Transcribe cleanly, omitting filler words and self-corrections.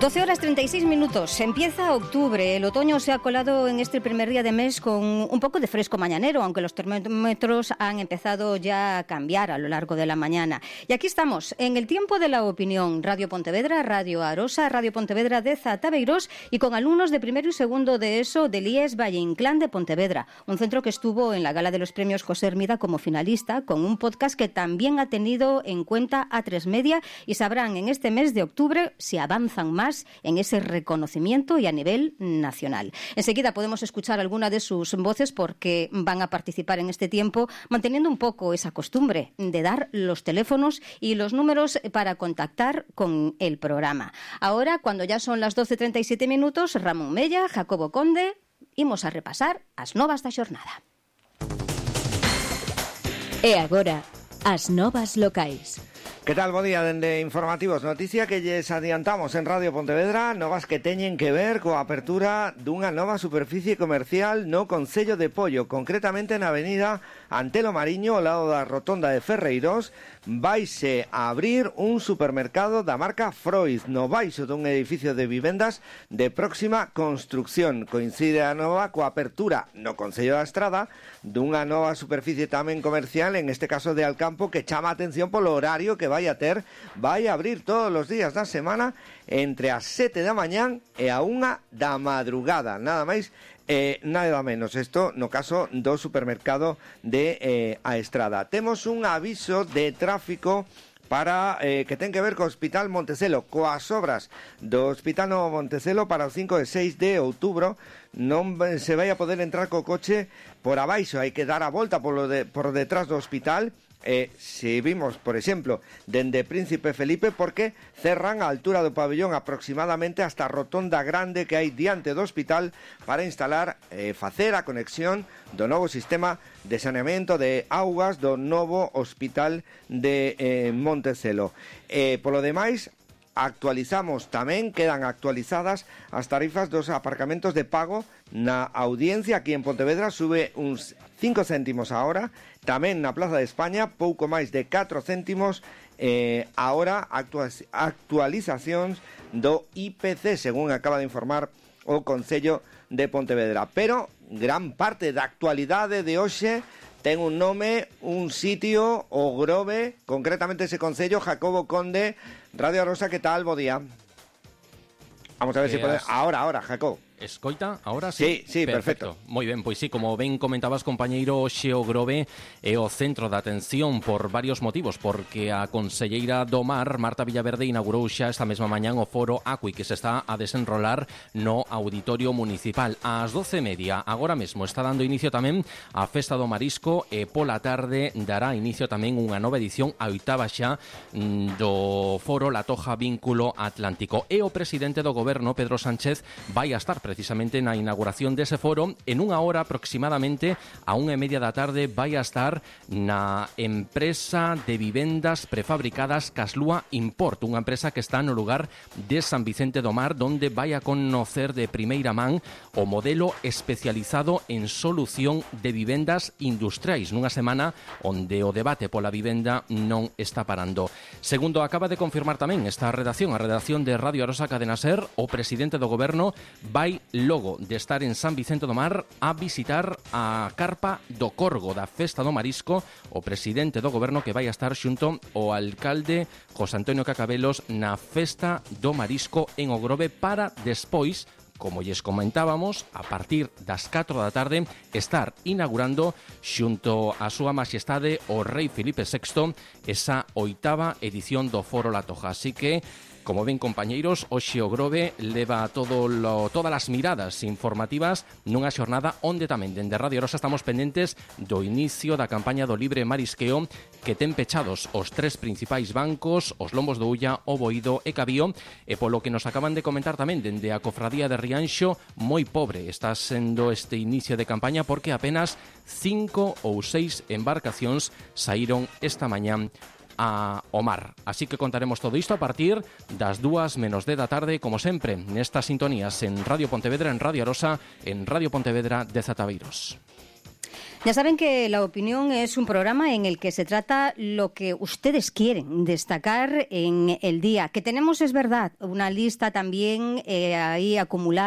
12:36. Empieza octubre. El otoño se ha colado en este primer día de mes con un poco de fresco mañanero, aunque los termómetros han empezado ya a cambiar a lo largo de la mañana. Y aquí estamos, en el tiempo de la opinión. Radio Pontevedra, Radio Arosa, Radio Pontevedra de Zataveiros y con alumnos de primero y segundo de ESO del IES Valle Inclán de Pontevedra. Un centro que estuvo en la gala de los premios José Hermida como finalista, con un podcast que también ha tenido en cuenta A3 Media, y sabrán en este mes de octubre si avanzan más en ese reconocimiento y a nivel nacional. Enseguida podemos escuchar alguna de sus voces porque van a participar en este tiempo, manteniendo un poco esa costumbre de dar los teléfonos y los números para contactar con el programa. Ahora, cuando ya son las 12:37, Ramón Mella, Jacobo Conde, imos a repasar as novas da xornada. E agora, as novas locais. Que tal, bo día, dende Informativos. Noticia que lles adiantamos en Radio Pontevedra, novas que teñen que ver coa apertura dunha nova superficie comercial no Concello de Pollo, concretamente na avenida Antelo Mariño, ao lado da rotonda de Ferreiros. Vaise a abrir un supermercado da marca Freud no baixo dun edificio de vivendas de próxima construcción. Coincide a nova coa apertura no Concello da Estrada dunha nova superficie tamén comercial, en este caso de Alcampo, que chama a atención polo horario que vai a ter. Vai a abrir todos os días da semana entre as 7 da mañán e a 1 da madrugada, nada máis nada menos. Isto no caso do supermercado de A Estrada. Temos un aviso de tráfico para que ten que ver co Hospital Montecelo, coas obras do Hospital Novo Montecelo para o 5 e 6 de outubro. Non se vai a poder entrar co coche por abaixo, hai que dar a volta por detrás do hospital. Se vimos, por exemplo, dende Príncipe Felipe, porque cerran a altura do pabellón aproximadamente hasta a rotonda grande que hai diante do hospital para instalar, facer a conexión do novo sistema de saneamento de augas do novo hospital de Montecelo. Polo demais, actualizamos tamén, quedan actualizadas as tarifas dos aparcamentos de pago na Audiencia aquí en Pontevedra. Sube uns 5 céntimos a hora, tamén na Plaza de España pouco máis de 4 céntimos a hora. Actualizacións do IPC, según acaba de informar o Concello de Pontevedra. Pero gran parte da actualidade de hoxe ten un nome, un sitio, o Grove, concretamente ese concello. Jacobo Conde, Radio Arosa, ¿qué tal? Bo día. Vamos a ver si podemos... Ahora, Jacobo. Escoita, ahora sí? Sí, perfecto. Moi ben, pois sí, como ben comentabas, compañeiro, Xeo Grove é o centro de atención por varios motivos, porque a conselleira do Mar, Marta Villaverde, inaugurou xa esta mesma mañán o foro Acui, que se está a desenrolar no Auditorio Municipal. Ás 12:30, agora mesmo, está dando inicio tamén a Festa do Marisco e pola tarde dará inicio tamén unha nova edición, a oitava xa, do foro La Toja Vínculo Atlántico. E o presidente do Goberno, Pedro Sánchez, vai a estar precisamente na inauguración dese foro. En unha hora aproximadamente, a 1:30 da tarde, vai a estar na empresa de vivendas prefabricadas Caslúa Import, unha empresa que está no lugar de San Vicente do Mar, donde vai a conocer de primeira man o modelo especializado en solución de vivendas industriais, nunha semana onde o debate pola vivenda non está parando. Segundo acaba de confirmar tamén esta redacción, a redacción de Radio Arosa Cadena Ser, o presidente do Goberno vai logo de estar en San Vicente do Mar a visitar a carpa do Corgo da Festa do Marisco, o presidente do Goberno que vai a estar xunto ao alcalde José Antonio Cacabelos na Festa do Marisco en O Grove, para despois, como lles comentábamos, a partir das 4 da tarde, estar inaugurando xunto a súa majestade o rei Filipe VI esa oitava edición do Foro La Toja. Así que, como ven, compañeiros, o Xeo Grove leva todas as miradas informativas nunha xornada onde tamén dende Radio Rosa estamos pendentes do inicio da campaña do libre marisqueo, que ten pechados os 3 principais bancos, os Lombos do Ulla, o Boído e Cabío, e polo que nos acaban de comentar tamén dende a cofradía de Rianxo, moi pobre está sendo este inicio de campaña, porque apenas 5 ou 6 embarcacións saíron esta mañán ao mar. Así que contaremos todo isto a partir das 2:10 da tarde, como sempre, nestas sintonías en Radio Pontevedra, en Radio Arosa, en Radio Pontevedra de Zataveiros. Ya saben que La Opinión es un programa en el que se trata lo que ustedes quieren destacar en el día. Que tenemos, es verdad, una lista también ahí acumulada